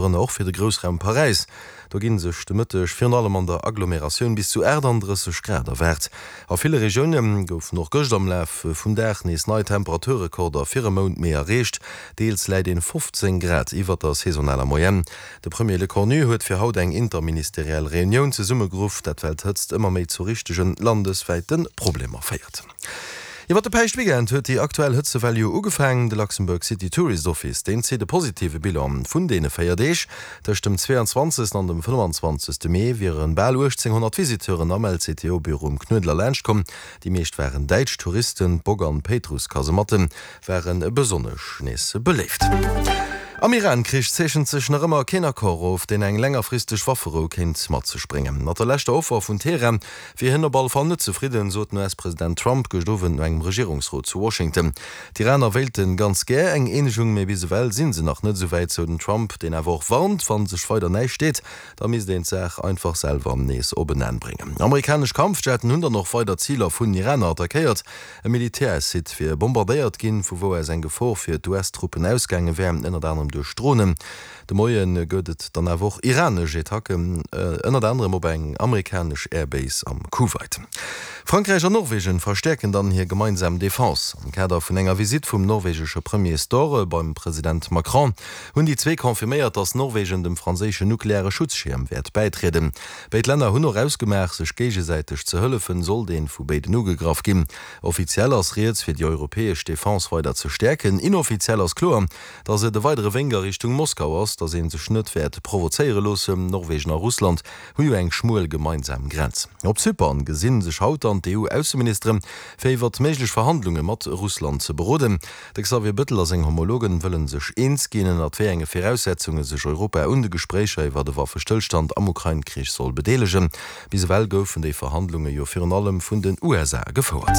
Dorënner och fir de Groussraum Paräis. Do gi sech de Mëtteg virun allem an der Agglomeratioun bis zu 38 Grad erwaart. A ville Regioune goufen och gëscht am Laf vum Dag nees nei Temperaturrekorder fir e Mount Mee erreecht. Deels läit een 15 Grad iwwert der saisonaler Moyenne. De Premier Lecornu huet fir haut eng interministeriell Reunioun zesummegeruff, dat well d'Hëtzt ëmmer méi zu richtege landeswäite Problemer féiert. Iwwer de Päischtweekend huet déi aktuell Hëtzewell jo ugefaangen. De Luxembourg City Tourist Office, deen zitt e positive Bilan vun deene 4 Deeg. Tëscht dem 22 an dem 25 Mee wiere bal 1.800 Visiteuren am LCTO-Büro um Knuedler laanscht komm. Déi meescht waren däitsch Touristen. D'Bock an d'Péitruss-Kasematte ware besonnesch nees beléift. Am Iran-Krich zeechent sech nach ëmmer keen Accord of, deen eng längerfristeg Wafferou kéint mat sech bréngen. Mat der leschter Offer vun Teheran wier hien op alle Fall net zefridden, sot den US-President Trump gëscht Owend no engem Regierungsrot zu Washington. D'Iraner wéilte ganz gär eng Eenegung, mee bis ewell si se nach net esou wäit, sou den Trump, deen awer och warnt, wa sech weider näischt deet, da misst een d'Saach einfach selwer nees op en Enn bréngen. Amerikanesch Kampfjetten hunn dann och weider Ziler vun den Iraner attackéiert. E Militärsite wier bombardéiert ginn, vu wou aus eng Gefor fir d'US-Truppen ausgaange wär, ënnert anerem duerch Dronen. De Moie gëtt et dann awer och iranesch Attacken, ënnert anerem op eng amerikanesch Airbase am Kuwait. Frankräich an Norwegen verstäerken dann hir gemeinsam Defense. Am Kader vun enger Visitt vum norwegesche Premier Støre beim President Macron hunn déi zwee confirméiert, datt Norwegen dem franséischen nukleare Schutzschierm wäert bäitrieden. Béid Länner hunn och ausgemaach, sech géigesäiteg ze hëllefen, sollt een vu béiden ugegraff ginn. Offiziell ass rieds, fir déi europäesch Defense weider ze stäerken. Inoffiziell ass kloer, datt et e weidere Wénk a Richtung Moskau ass, datt ee sech net wäert provozéiere loossen. Norwegen a Russland hu jo eng schmuel gemeinsam Grenz. Op Zypern gesi sech haut dann d'EU-Ausseministere fir iwwert méiglech Verhandlunge mat Russland ze beroden. De Xavier Bettel a seng Homologen wëllen sech eens ginn, ënnert wéi enge Viraussetzunge sech Europa un de Gespréicher iwwert e Waffestëllstand am Ukrain-Krich soll bedeelegen. Bis ewell goufen déi Verhandlunge jo virun allem vun den USA gefouert.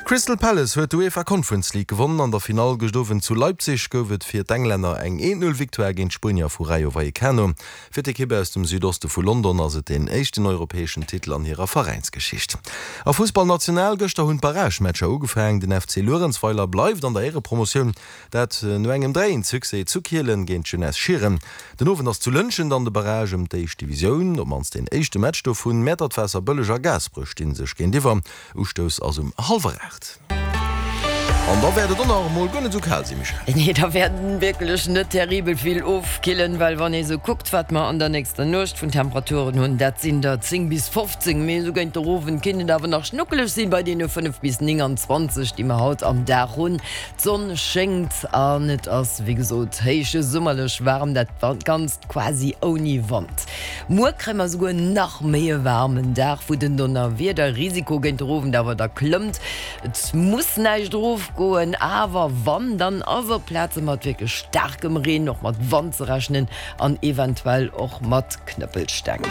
Crystal Palace huet d'UEFA Conference League gewonnen. An der Finall gëscht Owend zu Leipzig gouf et fir d'Englänner eng 1-0 Victoire géint d'Spuenier vu Rayo Vallecano. Fir d'Ekipp aus dem Südoste vu London ass et deen éischten europäeschen Titel an hirer Veräinsgeschicht. A Fussball National, Gëschter hunn d'Barragematcher ugefaangen. Den FC Luerenzweiler bleift an der Éierepromotioun, dat no engem 3 eent Succès zu Kielen géint d'Jeunesse Schieren. Den Owend ass zu Lëntgen dann de Barrage ëm d'éischt Divisioun, op mannst deen éischte Match dovun. Mäertert, Waasserbëlleg a Gaasperech sti sech géintiwwer. Ustouss ass um hallwer 8. An da wäert et och nach emol guer net esou kal sinn, Michèle. Nee, da wäert wierklech net terribel vill ofkillen, well wann ee sou kuckt, wat mer an der nächster Nuecht vun Temperaturen hunn, dat sinn der 10 bis 15, mee esou géint de Owend kinnt et awer nach schnuckeleg sinn bei deene 5 bis 29, déi mer haut am Dag hunn. D'Sonn schéngt an et ass wéi gesot héich summerlech waarm, dat Ganzt quasi ouni Wand. Muer kréie mer esouguer nach méi e waarmen Dag, wou den Donnerwiederrisiko géint de Owend awer da klëmmt. Et muss näischt erofgoen, awer wann, dann ass op Plaze mat wierklech staarkem Reen, och mat Wand ze rechnen an eventuell och mat Knëppelsteng.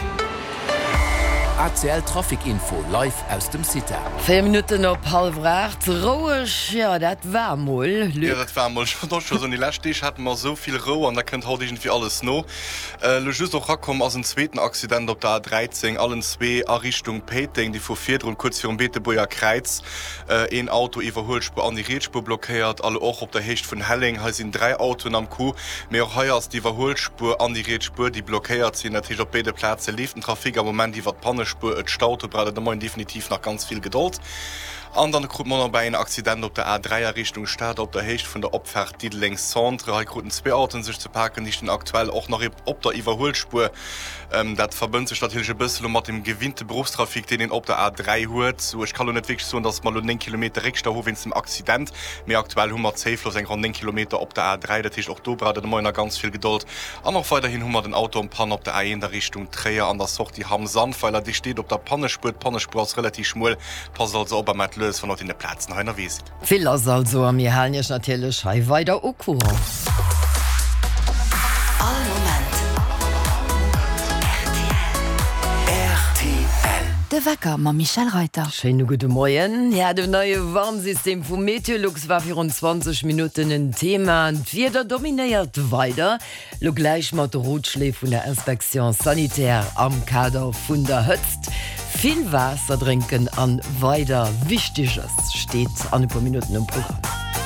ACL Trafic Info live aus dem CITA. 4 Minutten op hallwer 8. Roueg, jo dat war mol, Luc. Jo dat war mol, ech wollt och scho soen, déi lescht Deeg hate mer esou vill Rou an da kënnt haut iergendwéi alles no. Elo just och rakomm ass en zweeten Accident op der A13, allen zwee a Richtung Péiteng, déi vu virdrun, kuerz virum Beetebuerger Kräiz, een Auto Iwwerhuelspuer an déi riets Spuer blockéiert. A lo och op der Héicht vun Helleng, hei sinn 3 Autoen am Coup, mee och hei ass d'Iwwerhuelspuer an déi riets Spuer, déi blockéiert sinn. Dat heescht, op béide Plaze leeft den Trafic am Moment iwwer d'Pannespuer. Et staut, do braucht et de Moien definitiv nach ganz vill Gedold. An dann krut mer nobäi en Accident op der A3 a Richtung Stad op der Héicht vun der Opfaart Diddeleng Centre. Hei kruten zwee Autoen sech ze paken, déi stinn aktuell och nach op der Iwwerhuelspuer. Dat verbënnt sech natierlech e bësse lo mat dem gewinnte Beruffstrafic, deen een op der A3 huet. Sou, ech ka lo net wierklech soen, datt mer lo 9 Kilometer Réckstau hu wéinst dem Accident, mee aktuell hu mer zéiflos eng ronn 9 Kilometer op der A3. Dat heescht, och do braucht et de Moien nach ganz vill Gedold. An och weiderhin hu mer den Auto en panne op der A1 a Richtung Tréier an der Sortie Hamm-Sandweiler. Dee steet op der Pannespuer. D'Pannespuer ass relativ schmuel. Passt also op a maacht lues, wann der op deene Plazen hei ënnerwee sidd. Vill lass also a mir halen Iech natierlech hei weider au courant. All Moment rtl. De Wecker mam Michèle Reyter. Schéine gudde Moien. Ja, den neie Warnsystem vu Meteolux war virun 20 Minutten en Thema. D'Wieder dominéiert weider. Lo gläich mat de Rotschléi vun der Inspection sanitaire am Kader vun der Hëtzt. Vill Waasser drénken an weider Wichteges steet an e puer Minutten um Programm.